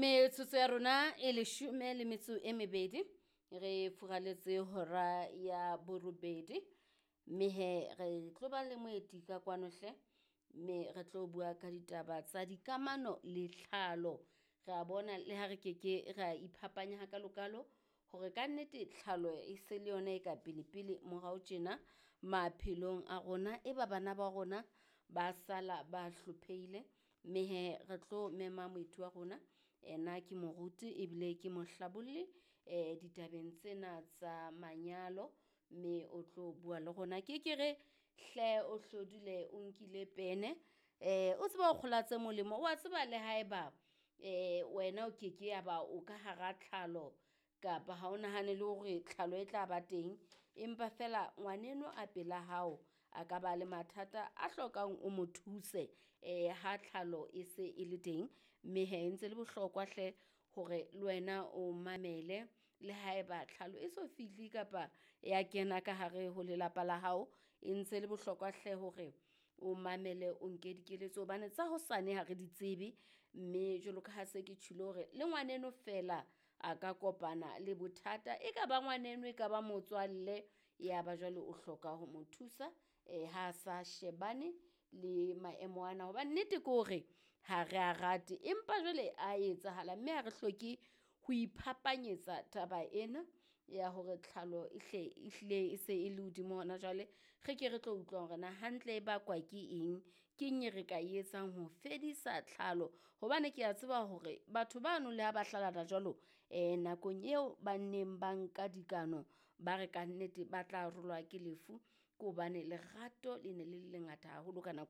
Metsotso ya rona e 12 re furaletse hora ya borobedi, mme he re tlo ba le moeti ka kwano hle, mme re tlo bua ka ditaba tsa dikamano le tlhalo. Re a bona le ha re keke ra iphapanya hakalokalo hore kannete tlhalo e se le yona e ka pele-pele morao tjena maphelong a rona. E ba bana ba rona ba sala ba hlophehile, mme he re tlo mema moeti wa rona. Ena ke moruti ebile ke mohlabolli ditabeng tsena tsa manyalo, mme o tlo bua le rona. Ke ke re hle o hlodule o nkile pene, o tsebe ho kgola tse molemo. Wa tseba le haeba wena o keke ya ba o ka hara tlhalo kapa ha o nahane le hore tlhalo e tla ba teng, empa feela ngwaneno a pela hao a ka ba le mathata a hlokang o mo thuse ha tlhalo e se e le teng. Mme he ntse le bohlokwa hle hore le wena o mamele le haeba tlhalo e so fihle kapa ya kena ka hare ho lelapa la hao, e ntse le bohlokwa hle hore o mamele o nke dikeletso hobane tsa hosane ha re di tsebe. Mme jwalo ka ha se ke tjholo hore le ngwaneno feela a ka kopana le bothata, e ka ba ngwaneno e ka ba motswalle, ya ba jwale o hloka ho mo thusa ha sa shebane le maemo ana. Hobane nnete ke hore ha re a rate, empa jwale a etsahala, mme ha re hloke ho iphapanyetsa taba ena ya hore tlhalo e hle ehlile e se e le hodimo hona jwale. Re ke re tlo utlwa hore na hantle e bakwa ke eng, keng e re ka e etsang ho fedisa tlhalo. Hobane ke a tseba hore batho bano le ha ba hlalana jwalo, nakong eo ba neng ba nka dikano, ba re kannete ba tla arolwa ke lefu, ke hobane lerato le ne le le lengata haholo ka nako.